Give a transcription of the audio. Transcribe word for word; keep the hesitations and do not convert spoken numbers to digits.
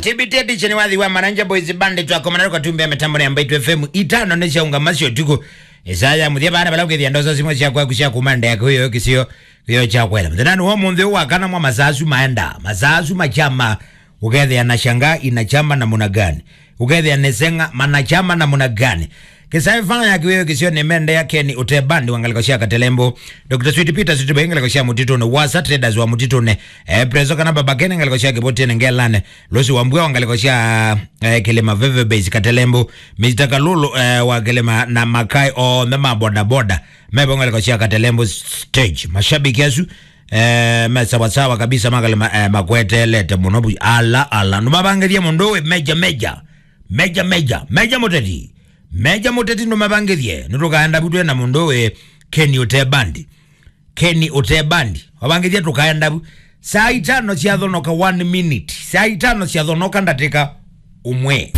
T B T edition wathi wa Maranja Boys Band twakomana kwa tumbe mitambo ya Mbaitu F M. Itano nĩ syaũngama sya ũtukũ. Ĩsaa ya mũthya vana vala ũkĩthĩa ndosa simũ sya kwaku sya kuma ndea kũyo kĩsio kĩyo kya kwela. Mũthenani wa mũnthĩ wa kana mwa masaa asu maenda. Masaa asu machama. Ũkethĩa na shanga inachama namna gani? Ũkethĩa nĩ seng'a manachama namna gani? Kĩsaĩ fana ya kĩwĩo kĩsio nĩ mende ya Keni Ũtebandi wa ngalĩko sya Katelembo. Doctor Sweet Peter Sweet Boy ngalĩko sya Mũtitũnĩ. Wasa Traders wa Mũtitũnĩ. Eh, Preso kana Baba Kene ngalĩko sya Kĩvũtĩnĩ Ngelane. Losi wa Mbua wa ngalĩko sya, eh, Kĩlĩma Veve Base Katelembo. Mister Kalulu, eh, wa Kĩlĩma na Makai onthe ma boda boda. Mebo ngalĩko sya Katelembo stage. Mashabiki asu, eh, me sawa sawa kabisa, makalema, eh, makwetelete mũno bu. Ala, ala. Nũmavangĩthie mũndũ ũĩ meja, meja. Meja, meja. Meja Mũteti. Meja Mũteti nũmavangĩthie. Nĩtũkaenda bu twĩ na mũndũ ũĩ Keni Ũtebandi. Keni Ũtebandi. Wavangĩthie tũkaenda bu. Saa itano syathonoka one minute. Saa itano syathonoka ndatĩka ũmwe.